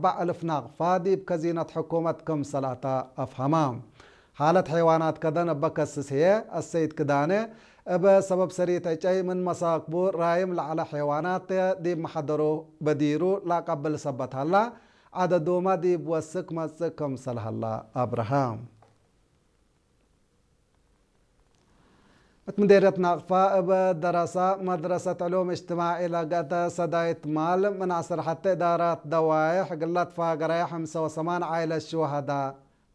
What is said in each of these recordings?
ኣርባዕ እልፍ ናቕፋ ዲብ ከዚነት ሕኩመት ክምሰል ኣታ ኣፍሃማ። ሓለት ሐይዋናት ከደን እበ ከስስ ህየ ኣሰይድ ክዳነ እበ ሰበብ ሰሪት ዕጨይ ምን መሳክቡ ራይም ለዐለ ሐይዋናት ዲብ መሐደሩ በዲሩ ለአቀብል ሰበት ሀላ፣ ዐደዱመ ዲብ ወስክ መጽእ ክምሰል ሀላ አብርሀ። እት ምዴርየት ናቅፋ እብ ደረሳ መድረሰት ዕሉም እጅትማዒ ለገአተ ሰዳይት ማል ምን ዐስር ሐቴ እዳራት ደዋይሕ እግል ለትፋገረየ ሐምሰ ወሰማን ዓይለት ሽወሀዳ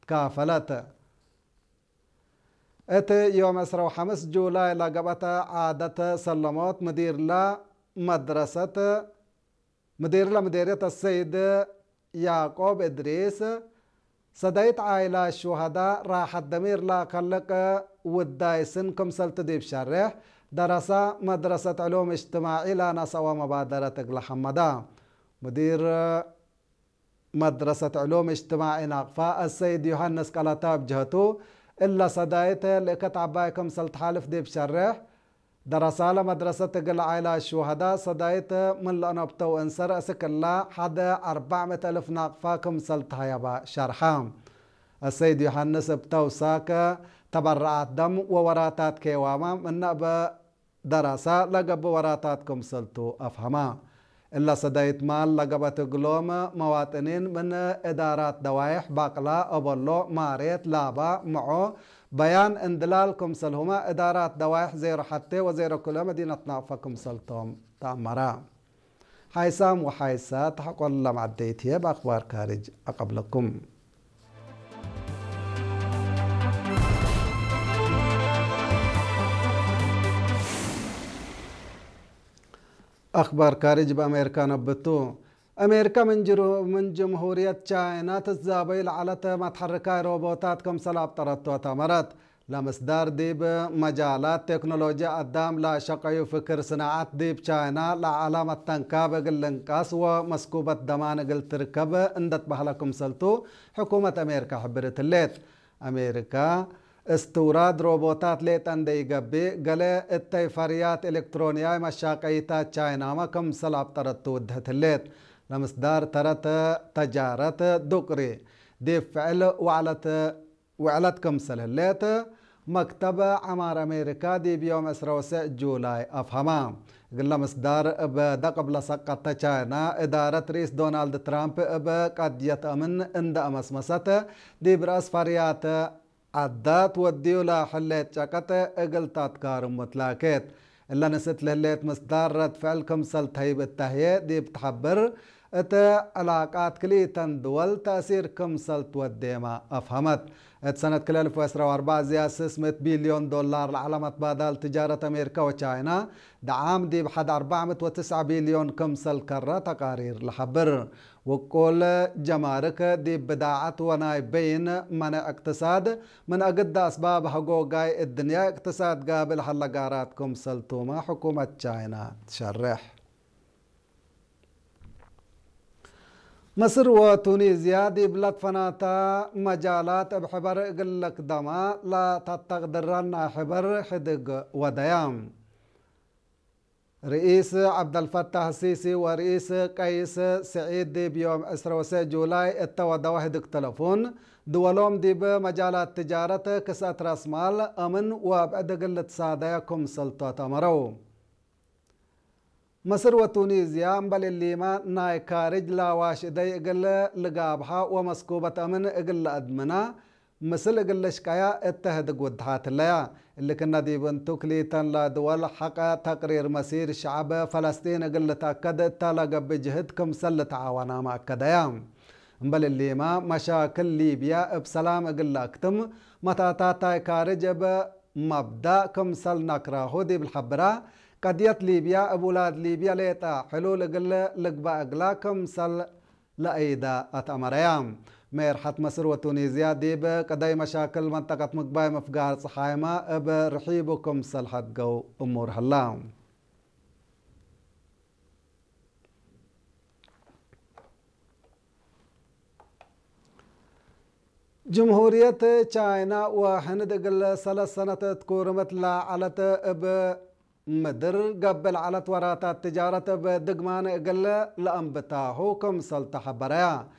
ትካፈለት። እት ዮም ዕስራ ወሐምስ ጁላይ ለገብአተ ዓደት ሰለሞት ምዲርለ መድረሰት ምዲርለ ምዴርየት አሰይድ ያዕቆብ እድሪስ፣ ሰዳይት ዓይላ ሹሀዳ ራሐት ደሚር ለአከልቅ ውዳይ ስን ክምሰልቱ ዲብ ሸሬሕ፣ ደረሳ መድረሰት ዕሉም እጅትማዒ ለነሰአወ መባደረት እግለ ሐመዳ። ሙዲር መድረሰት ዕሉም እጅትማዒ ናቅፋ አሰይድ ዮሐንስ ቀለታ እብ ጀህቱ፣ እለ ሰዳይት ልእከት ዐባይ ክምሰል ተሓልፍ ዲብ ሸሬሕ፣ ደረሳለ መድረሰት እግል ዓይላ ሹሀዳ ሰዳይት ምን ለአነብተው እንሰር እስክ እላ ሐደ አርባዕ ምእት እልፍ ናቅፋ ክምሰል ተሀየባ ሸርሐ። አሰይድ ዮሐንስ እብ ተውሳክ ተበረዓት ደም ወወራታት ኬዋማ ምነ እበ ደረሳ ለገብእ ወራታት ክምሰልቱ አፍሀማ። እለ ሰዳይት ማል ለገብአት እግሎም መዋጥኒን ምን እዳራት ደዋይሕ ባቅላ፣ ኦበሎ፣ ማሬት፣ ላባ፣ ምዖ፣ በያን፣ እንድላል ክምሰልሁመ እዳራት ደዋይሕ ዜሮ ሐቴ ወዜሮ ክልኤ መዲነት ናቅፋ ክምሰልቶም ተአመረ። ሓይሳም ወሓይሳ ተሐቆሎም ዐደይት ህዬ በአክባር ካርጅ አቀብለኩም። አክባር ካርጅ በአሜሪካ ነብቱ። አሜሪካ ምን ጅሩ-፣ ምን ጅምሁርየት ቻይና ትዛበዩ ለዐለት መትሐርካይ ሮቦታት ክምሰል አብጠረቶ ተአመረት። ለምስዳር ዲብ መጃላት ቴክኖሎጂ አዳም ለሸቀዩ ፍክር ስናዓት ዲብ ቻይና ለዐለ መተንካብ እግል ልንቀስ ወመስኩበት ደማን እግል ትርከብ እንደትበህለ ክምሰልቱ ሕኩመት አሜሪካ ሕብርት ህሌት። አሜሪካ እስትውራድ ሮቦታት ሌጠ እንደ ኢገብእ፣ ገሌ እተይ ፈርያት ኤሌክትሮንያይ መሻቀይታት ቻይናመ ክምሰል አብጠረት ትውድህት ህሌት። ለምስዳር ተረት ተጃረት ዱቅሪ ዲብ ፍዕል ወዕለት ውዕለት ክምሰል ህሌት፣ መክተብ ዐማር አሜሪካ ዲብ ዮም ዕስራ ወሰዕ ጁላይ አፍሀማ። እግለ ምስዳር እብ ደቅብ ለሰቀተ ቻይና፣ እዳረት ርኢስ ዶናልድ ትራምፕ እብ ቀድየት አምን እንደ አመስመሰት፣ ዲብ ረአስ ፈርያት ዐዳት ወድዩ ለህሌት ጨቀጥ እግል ታትካርሙ ትላኬት። እለ ንስት ለህሌት ምስዳር ረድ ፍዕል ክምሰል ተህይብ እተ ህዬ ዲብ ተሐብር፣ እት ዕላቃት ክልኢተን ድወል ተእሲር ክምሰል ትወዴመ አፍሀመት። እት ሰነት ክልኤ አልፍ ወዕስራ ወአርበዕ ዝያድ ስስ ምእት ቢልዮን ዶላር ለዐለ መትባዳል ትጃረት አሜሪካ ወቻይና፣ ደዓም ዲብ ሐድ አርበዕ ምእት ወትስዐ ቢልዮን ክምሰል ከረ ተቃሪር ለሐብር። ውቁል ጀማርክ ዲብ ብዳዐት ወናይ በይን መነ እቅትሳድ ምን አግደ አስባብ ሀጎጋይ እድንያ እቅትሳድ ጋብል ሀለ ጋራት ክምሰልቱመ ሕኩመት ቻይና ትሸርሕ። ምስር ወቱኒዝያ ዲብ ለትፈናታ መጃላት እብ ሕበር እግል ለክደማ ለተተቅድረን ናይ ሕበር ሕድግ ወደያ። ርኢስ ዐብደልፈታህ ሲሲ ወርኢስ ቀይስ ስዒድ ዲብ ዮም ዕስራ ወሰዕ ጁላይ እተ ወደወ ህድግ ተለፉን፣ ድወሎም ዲብ መጃላት ትጃረት ክስአት ረስማል አምን ወብዕድ እግል ልትሳደየ ክምሰልቶ ተአመረው። መስር ወቱኒዝያ እምበል እሊመ ናይ ካርጅ ለአዋሽ እደይ እግል ልጋብሓ ወመስኩበት አምን እግል ለአድምና፣ ምስል እግል ልሽቀያ እተ ህድግ ውድሓት ህለያ። እሊ ክነ ዲብ እንቱ ክልኢተን ለድወል ሐቀ ተቅሪር መሲር ሸዐብ ፈለስጢን እግል ልትአከድ እተ ለገብእ ጅህድ ክምሰል ልትዓወናመ አከደያ። እምበል እሊመ መሻክል ሊብያ እብ ሰላም እግል ለአክትም መታታታይ ካርጅ እብ መብዳእ ክምሰል ነክራሁ ዲብ ልሐብራ፣ ቀድየት ሊብያ እብ ውላድ ሊብያ ሌጠ ሕሉል እግል ልግበእ እግላ ክምሰል ለአይዳ አትአመረያ። ሜርሐት መስር ወቱኒዝያ ዲብ ቅደይ መሻክል መንጠቀት ምግባይ ምፍጋር ጸሓይመ እብ ርሒቡ ክምሰል ሐድገው እሙር ሀላ። ጅምሁርየት ቻይና ወህንድ እግል ሰለስ ሰነት ትኩርምት ለዐለት እብ ምድር ገብእ ለዐለት ወራታት ትጃረት እብ ድግማን እግል ለአንብታሁ ክምሰል ተሐበረያ።